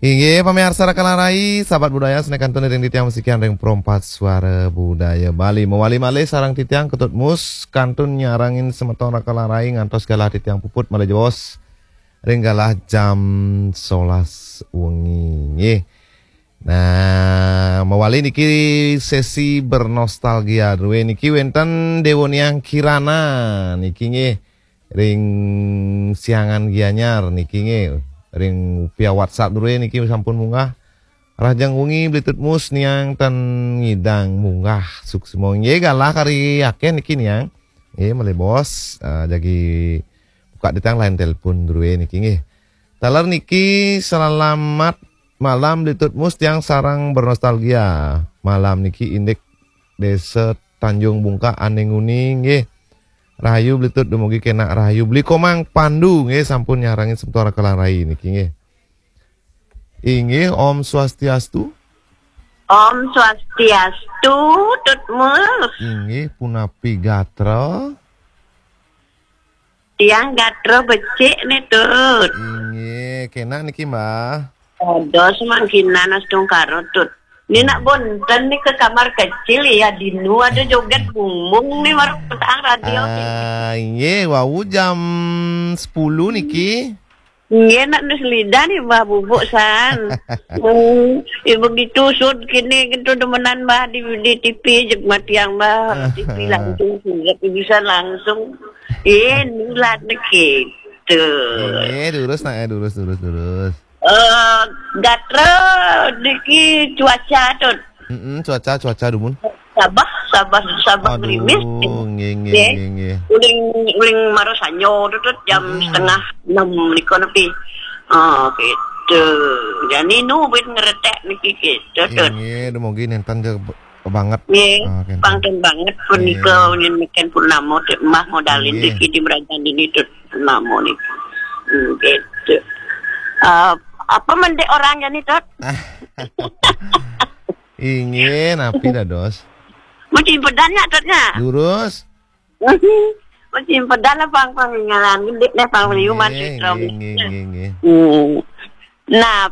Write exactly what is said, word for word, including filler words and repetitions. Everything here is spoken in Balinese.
Inggih, pamiarsa Raka Larai, sahabat budaya, sané kantun ring titiang masikian ring Pro empat Suara Budaya Bali. Mawali malih sareng titiang Ketut Mus, kantun nyarengin semeton Raka Larai ngantos galah titiang puput malih jebos ring galah jam solas wengi. Nggih. Nah, mawali niki sesi bernostalgia drué niki wénten Déwa Niang Kirana niki nggih ring Siangan Gianyar niki nggih ring via WhatsApp drué niki sampun munggah. Rahajeng wengi Bli Tut Mus Niang tan ngidang munggah suksma nggih galah kari akéh niki Niang. Nggih malih bos, eh, jagi buka titiang line telepon drué niki nggih. Taler niki selamat malam Bli Tut Mus tiang sareng bernostalgia. Malam niki indik Désa Tanjung Bungkak ané nguni nggih. Rahayu Bli Tut dumugi kénak rahayu Bli Komang Pandu nggih sampun nyarengin semeton Raka Larai niki nggih. Inggih Om Swastiastu. Om Swastiastu, Tut Mus. Inggih punapi gatra? Tiang gatra becik nih, Tut. Inggih, kénak niki, Mbah. Dados mangkinan astungkara, Tut. Ni nak bonten nih ke kamar kecil ya, dinu ada joget bumbung nih baru petang radio. Ah, inggih, wau jam sepuluh niki. Nggih, nak nus lidah nih Mbah Bubuk san. Hmm, ya begitu sud kini gitu demenan Mbah di, di T V jeg matiang Mbah. T V langsung surat bisa langsung. Eh, nulat nih gitu. Nggih, durus nak ya, durus, durus, durus. Eh, gatra niki cuaca, Tut. Mm-mm, cuaca, cuaca dumun. Sabah, Sabah, Sabah. Aduh, gerimis. Nggih, nggih, nggih, nggih. Uling, uling mara sanyo, Tut, Tut, jam setengah enam nika nepi. Oh, gitu. Jani nu buin ngeretek niki gitu, Tut. Nggih, nggih, dumugi nénten ja banget. Nggih, ah, kénten. Pangten banget punika nggih. Nyen meken purnama, Tut, Mbah modalin nggih. Niki di merajan ini, Tut. Nama nih. Hmm, gitu. Eh, apa mendek orangnya nih, Tot? Inggih, napi dados? Masih pedan nggak, Totnya? Lurus. Masih pedan lah, pang, pang, ngalan gede deh, pang, liuman. Inggih, sih, inggih, inggih, inggih, inggih. Hmm. Nah,